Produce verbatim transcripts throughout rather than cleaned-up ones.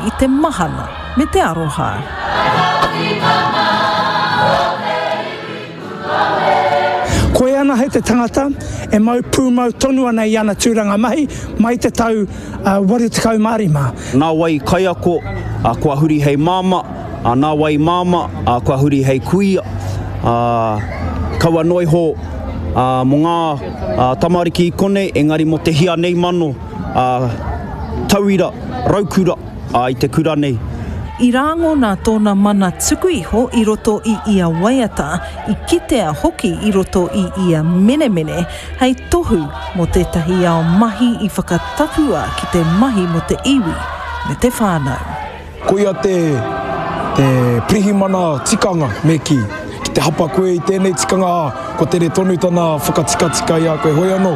i te mahana me te aroha. Koe anahe te tangata e mau pūmau tonu ana i ana tūranga mahi mai te tau waru tekau mā rima. Nā wai kaiako, kua huri hei māmā, nā wai māmā, kua huri hei kuia, kaua noa iho mō ngā tamariki i konei, engari mō te hia nei mano tauira, raukura i te kura nei. I rāngona tōna mana tuku iho i roto i ia waiata, i kitea hoki i roto i ia menemene, hei tohu mō tētahi ao mahi i whakatapua ki te mahi mō te iwi me te whānau. Koia te, te pirihimana tikanga, me kī. Ki te hapa koe i tēnei tikanga, ā, kua tere tonu tana whakatikatika i a koe. Hoi anō,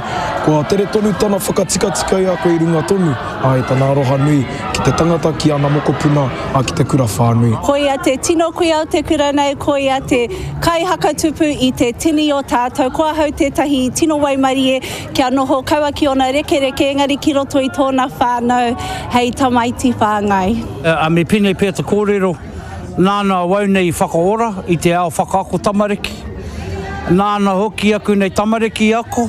kua tere tonu tana whakatikatika i a koe i runga tonu, ā, i tana aroha nui ki te tangata, ki ana mokopuna, ā, ki te kura whānui. Koia te tino kuia o te kura nei, koia te kaihakatupu i te tini o tātou. Ko ahau tētahi tino waimarie kia noho kaua ki ōna rekereke, engari ki roto i tōna whānau hei tamaiti whāngai. Ā, me pēnei pea te kōrero, nāna awau nei i whakaora i te ao whakaako tamariki. Nāna hoki aku nei tamariki i ako.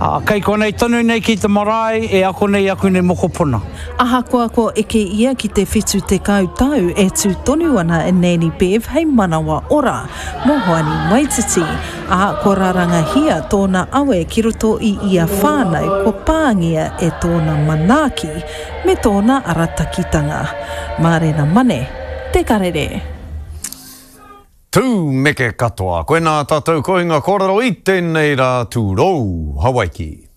Ā, kei konei tonu nei ki te marae e ako nei aku nei mokopuna. Ahakoa kua eke ia ki te whitu tekau tau e tū tonu ana a Nanny Bev hei manawa ora mō Hoani Waititi, ā, kua rarangahia tōna awe ki roto i ia whānau kua pāngia e tōna manaaki me tōna aratakitanga. Mārena Mane, Te Karere. Tū meke katoa. Koinā tātou kohinga kōrero i tēnei rā tūrou Hawaiki.